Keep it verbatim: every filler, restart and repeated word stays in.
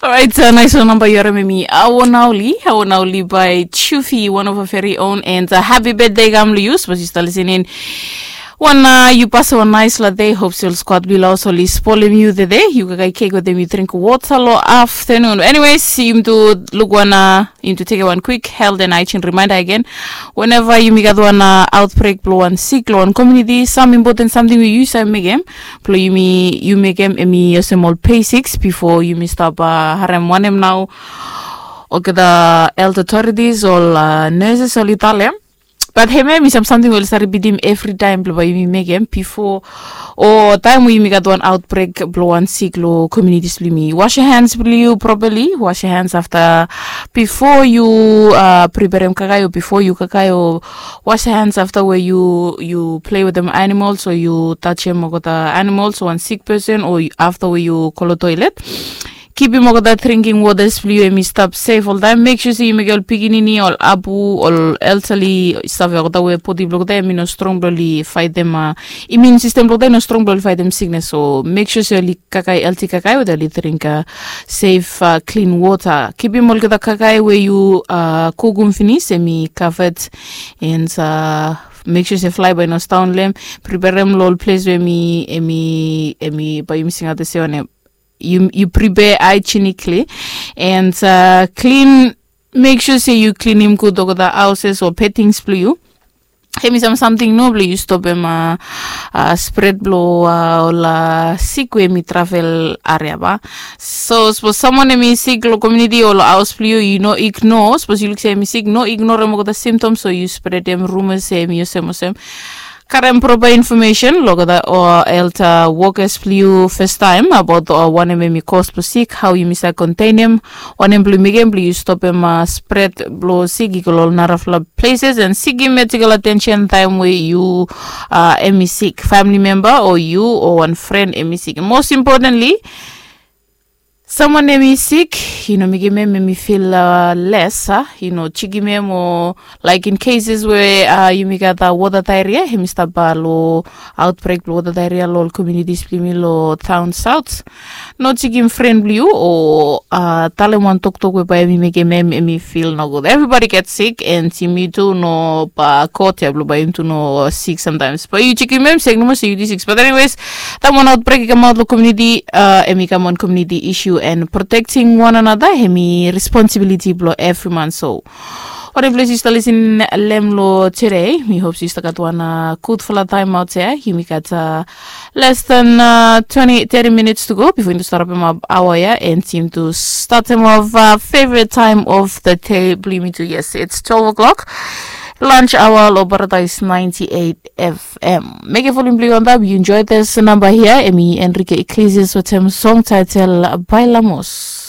Orait, nais wan namba yu harim em i Awo Naoli, Awo Naoli by Chufi, one of our very own, and happy birthday kam long yu, sapos yu stap lisening. Wan yu pasem wan nais long dei, hop se ol skwad blong yu long haos oli spolem yu tede, yu kaikai kek wetem yu dring wota long aftanun. Anyways, yumitu luk wan, yumitu tekem wan kwik health and hygiene reminder agen. Weneva yumi gat wan outbreak blong wan sik long wan komuniti, sam impoten samting we yu save mekem blong yumi, yu mekem em i olsem ol basics bifo yumi stap harem wanem nao olgeta health authorities ol nurses oli talem. Bat hemia em i sam samting we oli save ripitim evritaem blong bae yumi mekem bifo o taem we yumi gat wan outbreak blong wan sik long communities blong yumi. Wash your hands blong yu properly, wash your hands afta bifo yu preperem kakae o bifo yu kakae o wash your hands afta we yu yu plei wetem animals o yu tajem olgeta animals o wan sik pesen o afta we yu go long toilet. Kipim olgeta dringing wotas blong yu em i stap sef oltaem. Mek sua se yu mekem ol pikinini ol abu ol elderly save olgeta we bodi blong olgeta em i no strong blong oli faetem imun sistem blong olgeta i no strong blong oli faetem siknes. So mek sua se oli kakae elti kakae we oli dring sef klin wota. Kipim olgeta kakae we yu kukum finis em i kavet and mek sua se flae bae i no staon long em. Preperem long ol ples we em i em i em i bae yumi singaot olsem wanem yu prepare hygienically and klin. Mek sua se yu klinim gud olgeta haoses o petings blong yu. Hem i sam samting no blong yu stopem spret blong ol sik we hem i travel aria ba. So sapos samwan hem i sik long komuniti o long haos blong yu yu no ignore sapos yu luk se hem i sik no ignorem olgeta simtoms o yu spretem rumas se hem i olsem olsem. Karem propa infomesen long olgeta health wokas blong yu fastaem abaot wanem hem i kos blong sik hao yumi save kontenem wanem blong yu mekem blong yu stopem spret blong sik i go long ol narafala pleses and sikim medical atensen taem we yu hem i sik famili memba o yu o wan fren hem i sik mos impotenli. Samwan hem i sik yu no mekem hem hem i fil les a yu no jikim hem o laik in keses we yumi gat wota daeria hem i stap long aotbrek blong wota daeria long ol komunitis blong yumi long taon saot. No jikim fren blong yu o talem wan toktok we bae hem i mekem hem hem i fil nogud evribodi get sik and yumi tu no ba god ya blong bae yumi tu no sik samtaems bae yu jikim hem sek nomo se yu tu sik bat eniwes. Taem wan aotbrek i kamaot long komuniti hem i kam wan komuniti isu and protekting wan anata hem i responsibiliti blong evri man so. Wanem ples yu stap lisin long hem long tede mi hop se yu stap gat wan gudfala taem aot ya yumi gat les dan teti minits tu go bifo yumi tu stap rapem ap aoa ya and yumi tu statem of fevrit taem of the dei blong yumi tu yes its twelve o'clock. Lunch aoa long paradaes ninety eight fm. Mekem volim blong yu antap yu enjoe this namba hia hem i enrique iglesias wetem song taetel bailamos.